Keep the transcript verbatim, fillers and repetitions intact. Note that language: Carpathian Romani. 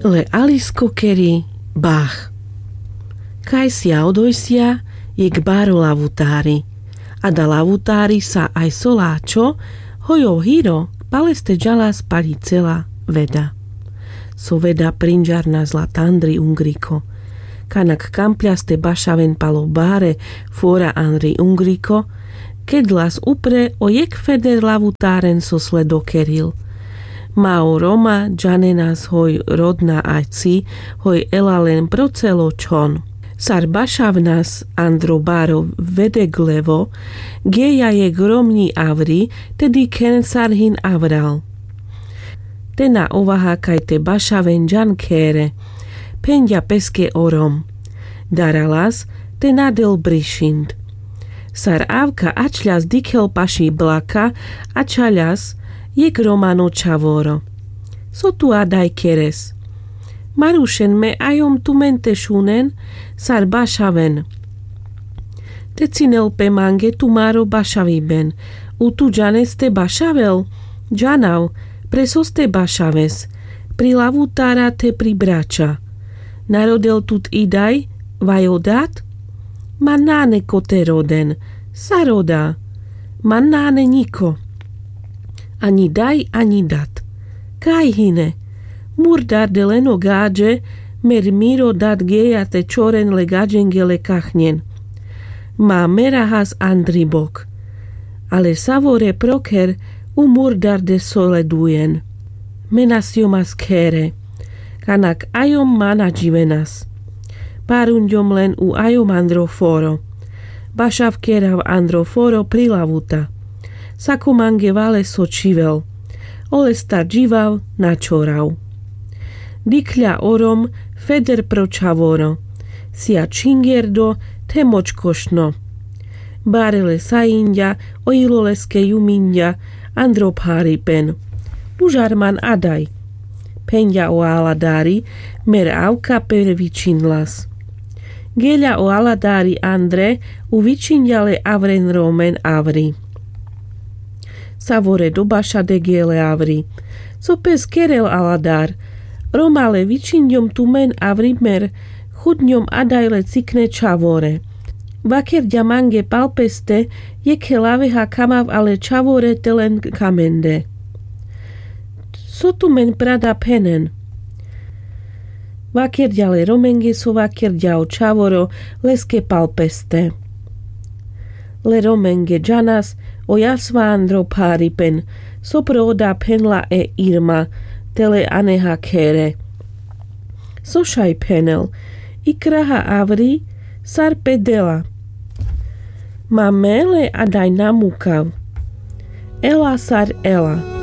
Le alisko keri bach. Kajsia odojsia jekh baro lavutári. A da lavutári sa aj so láčo, hoj o hiro, pal este džalas paľi cela veda. So veda prinžarnas la tandri ungriko. Kanak kampľas te bašaven pal o bare fora andri ungriko, kedlas upre o jekh feder lavutáren so sledo keril. Ma o roma džanenas hoj rodna ačci, hoj ela len pro celo čhon. Sar bašavnas andro baro vedeglevo, geja jekh romňi avri, te dikhen sar hin avral. Te na ovaha kaj te bašaven džan khere. Phenďa peske o rom. Daralas te na del brišind. Sar avka ačľas dikhel paši blaka, ačhaľas jekh romano čhavoro. So tu adaj keres? Marušen me ajom tumen te šunen sar bašaven. Te cinel pe mange tumaro bašaviben. U tu džanes te bašavel? Džanav. Pre sos te bašaves? Pri lavutára te pri brača. Na rodel tut idaj, vaj o dat? Ma nane ko te roden. Sar oda? Ma nane ňiko. Aňi daj aňi dat. Kaj hine? Murdar de len o gaďe, mer miro dat geja te čoren le gaďenge le kachňen. Ma merahas andri bok. Ale savore proker u murdar de so ledujen. Me na sjomas khere. Kanak ajom ma na dživenas. Parunďom len u ajom andro foro. Bašav kerav andro foro pri lavuta. Sako mange vale so čivel. Olestar dživav na čorav. Dikhľa o rom feder pro čhavoro. Sija čhingerdo the močkošno. Bare le sajinďa, o ilo leske juminďa andro pharipen. Užar man adaj. Phenďa o aladári, mer avka per vičinlas. Geľa o aladári andre, u vičinďa le avren romen avri. Savore do baša de gele avri. Co pes kerel aladár? Roma le vičinďom tumen avri mer chudňom adaj le cikne čhavore. Vakerďa mange pal peste, jekhe laveha kamav ale čhavore te len kamende. So tumen prada phenen? Vakerďa le romenge so vakerďa o čhavoro leske pal peste. Le romenge džanas o jasva andro pharipen, so pro oda phenla e irma, te le aneha khere. So šaj phenel? Ikraha avri sar pe dela. Ma me le adaj na mukav. Ela sar ela.